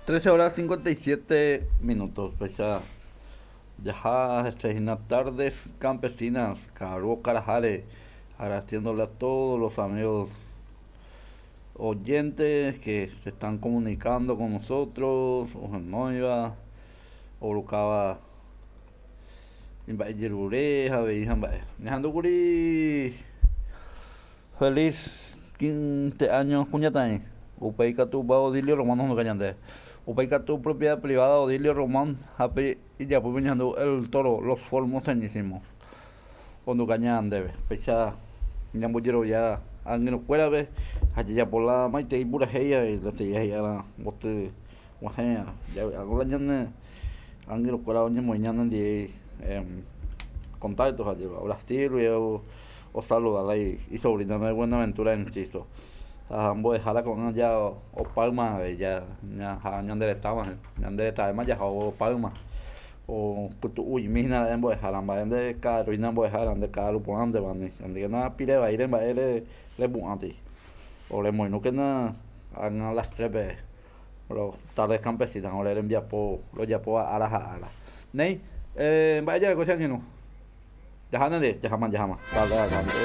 13 horas 57 minutos, péicha jaha hese hína Tardes Campesinas, ka'aru okaraháre, agradeciéndole a todos los amigos oyentes que se están comunicando con nosotros, ohenóiva, orukáva imba'ejerure ha avei ha mba'e. Ñahendúkuri Feliz 15 años kuñataĩ. Upéi katu upe Odilio Román ohenduka ñande. Upéi katu propiedad privada Odilio Román ha pe ijapýpe ñahendu El Toro, Los Formoseñísimos ohenduka ñandéve. Péicha ñambojerovia angirũkuérape ha jajapo la maitei purahéi avei la te'i he'i'arã mboty guahẽ javy'a la ñane angirũkuéra oñemoĩ ñanendie contacto ha jeva Brasil guive osaluda la isobrina de Buenaventura Enciso ha mbo'ehára ko'ág̃a ja opáyma avei ja ñande retãva ñande retãvéma jaha opáyma opytu'uimi hína ra'e mbo'ehára mba'e nde ka'aru hína mbo'ehára nde ka'aru porãnteva ndékena pire vaíre mba'e repu'ãtei oremoirũkena ág̃a las tres-pe Tardes Campesinas ore rembiapo rojapóva ára ha ára. Néi, mba'e jareko che angirũ? Jaha nde, jaháma, jaháma. Dale, dale.